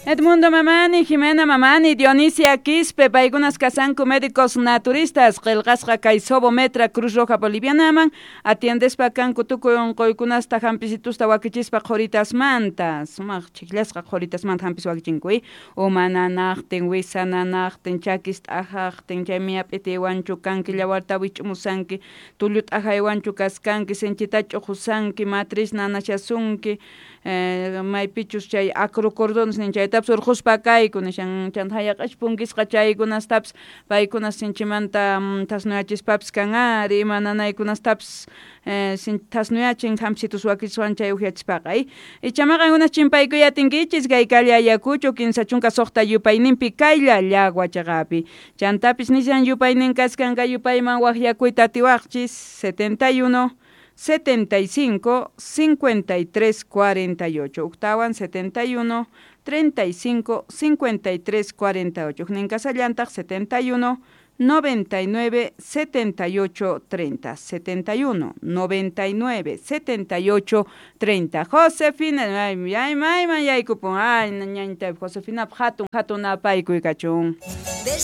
Edmundo Mamani, Jimena Mamani, Dionisia Quispe, paykunas kasanku médicos naturistas, qillqasqa kay Sobometra Cruz Roja Bolivianaman, atiendespa kanku tukuy unquykunasta hampisitusta wakichispa qhuritasmanta, sumaq chikllasqa qhuritasmanta hampis wakichinku, uma nanaqtin, wisa nanaqtin, chakis t'ajaqtin, chaymi yap'itiwanchu kanki, llawarta wich'umusanki, tullu t'ajaywanchu kaskanki, sinchita ch'uqusanki, matriz nanashasunki, maypichus chay acrocordones nin chaytapas urquspa kayku nishan chanta hayaq'achu punkisqa chaykunastapis paykunas sinchimanta thasnuyachispapis kan ari ima nanaykunastapis thasnuyachin hampisitus wakichiswan chay uhyachispaqa icha qankunas chimpaykuy atinkichis kay calle Ayacucho 36 yupayninpi kaylla Llagua chaqapi chantapis nishan yupaynin kaskan kay yupayman waqyakuyta atiwaqchis 71 75 53 48 uktawan 71 35 53 48 huknin kasallantaq 71 99 78 30 71 99 78 30 Josefina ay ay mayman yaykupun ay ñañta Josefina hatun hatun apaykuy kachun. Desde